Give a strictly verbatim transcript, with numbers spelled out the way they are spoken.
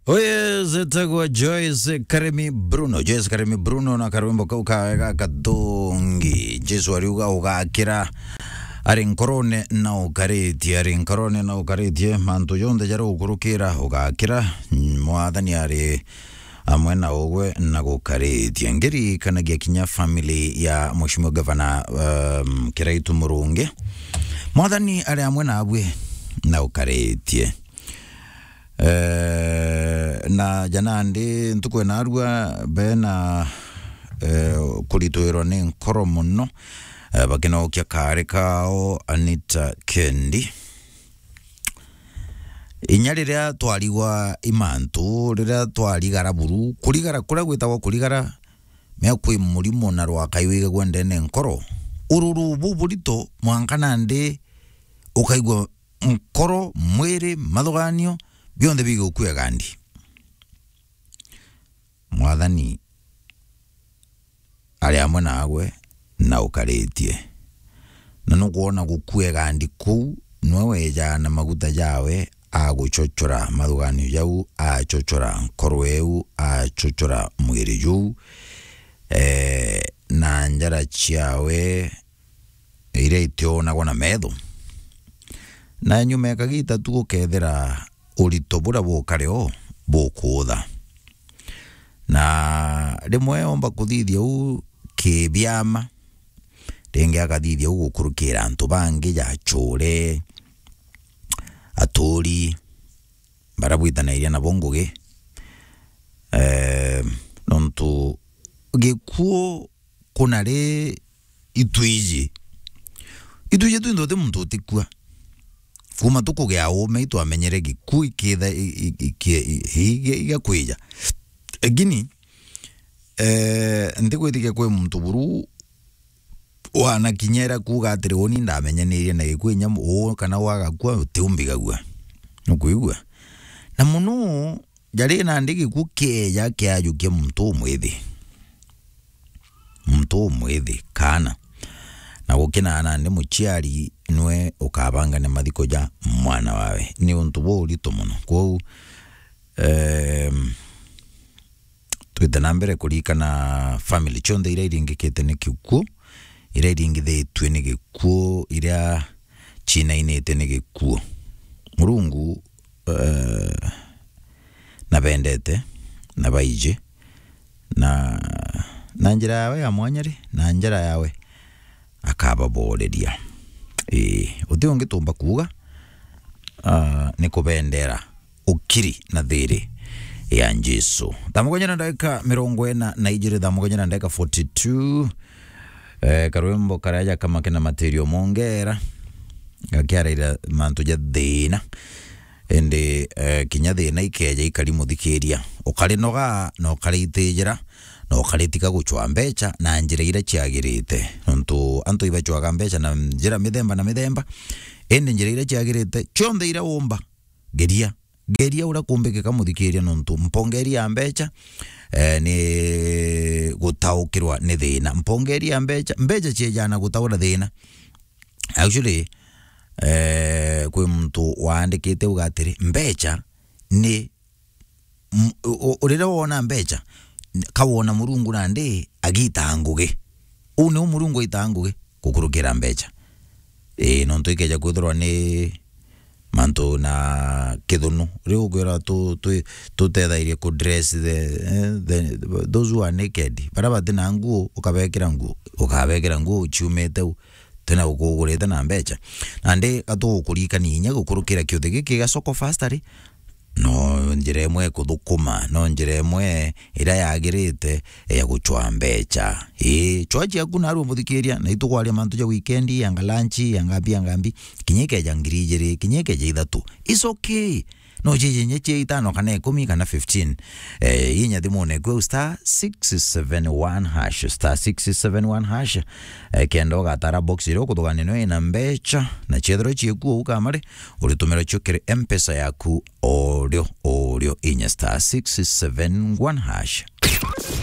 Uyu etagwa Joyce Karemi Bruno. Joyce Karemi Bruno na karwimbo kau kawega kathongi. Jesu ariuga ugakira ari nkorone na ukaritie, ari nkorone na ukaritie, mantu jonthe jaria ukurukira ugakira, Mwathani ari amwe na ugwe na gukaritie. Ngiririkanagia kinya family ya Mheshimiwa Gavana, um, Kiraitu Murungi. Mwathani ari amwe nabwe na ukaritie. Eh, na ja nandi ntuku ya narua bena, eh, kuritwirwa ni nkoro mono, eh, bakinokia kaari kao Anita Kendi. Inya riria twarigwa i mantu, riria twarigara buru, kurigara, kuria gwitagwa kurigara, mea kwi murimo na rwakai wigagua ndene nkoro. Ururu buburitu mwanka nandi ukaigua nkoro, mwiri, mathuganio, bionthe bigukua gandi. Mwathani ari amwe nagwe na ukaritie. Na nukwona gukua gandi kuu, nwe wejaa na maguta jawe, aguchochora mathuganio jau, achochora nkoro eu, achochora mwiri juu, eh, na njara ciawe iria itionagwa na metho. Na nyuma ya kagita tu gukethira urito buria bukare o bukuutha. Na rimwe omba kuthithia uu kibiama, ringi akathithia uu gukurukira antu bangi, ja achure, aturi, baria bwitanairia nabo ngugi. Eh, nontu gikuu kuna ri itwiji. Itwiji twinthe uti muntu utikua. Kuma tukugia uume itwamenyere gikuu ikitha i-, i-, iki-, i-, i-, igakwija. Lakini, eh, ntigwitikia kwi muntu buru wanakinyera kuuga atiri, "Uni ndamenyanirie na gikuu inya uu kana wagakua utiumbigagua." Nukwigua? Na mono jari nandi gikuu kieja kiajukia muntu umwithi. Muntu umwithi, kaana. Na gukina nandi muciari nwe ukabangania mathiko ja mwana wawe. Ni untu buritu mono. Kwou, em, twite na mbere kurikana family cionthe iria iringikite ni gikuu, iria iringithitue ni gikuu, iria cinainite ni gikuu. Murungu, eh, nabendete, na baiji, na, na njira yawe ya mwanya ri, na njira yawe akababoreria. Ii, uti ungi tumba kuuga, ah, ni kubendera ukiri na thiri ya Jesu. Thaa mugwanja na ndagika mirongo ina na ijiri, thaa mugwanja na ndagika forty-two. Eh, karwimbo karia ja Kamake na Material Mongera, gakiaraira mantu ja thina. Indi, eh, kinya thina ikeja ikari muthikiria, ukarinoga na ukariitijira, na ukaritiga gucwa mbecha na njira iria ciagirite. Nontu antu ibacwaga mbecha na njira mithemba na mithemba, indi njira iria ciagirite, cionthe iria umba, geria. Geria uria kumbikika muthikiria, nontu mpongeri ya mbecha, eh, ni gutaukirwa ni thina. Mpongeri ya mbecha, mbecha ciejana gutaura thina. Actually, eh, kwi muntu waandikite uga atiri, mbecha ni, m-, u-, u-, riria wona mbecha, n-, ka wona Murungu nandi agitaa ngugi. Uu niu Murungu aitaa ngugi gukurukira mbecha. Ii, nontu ikeja kwithirwa ni mantu na kithunu. Riu ukwira tu-, tu-, tutethairie ku dress the, eh, the, those who are naked. Baria bati na nguo, ukabekira nguo, ukabekira nguo ciumite u, tena ukugurite na mbecha. Nandi gatugukurikania inya gukurukira kiuthi giki gia Soko Fast ri, no njira imwe kuthukuma, no njira imwe iria yagirite ya gucwa mbecha. Ii, chwa ciaku narua muthikiria, na itugwaria mantu ja weekend, yanga lunch, yanga mbi, yanga mbi, kinya ikeja ngiri ijiri, kinya ikeja ithatu. It's okay. No cije inya cia itano kana ikumi kana fifteen. Eh, inya thimune kwe star six seven one hash, star six seven one hash. Eh, kenda ugatara box iria ukuthugania nayo ina mbecha, na ciethirwa ciekuo ukamare, uritumira cio kiri M-Pesa yaku orio, orio inya star six seven one hash.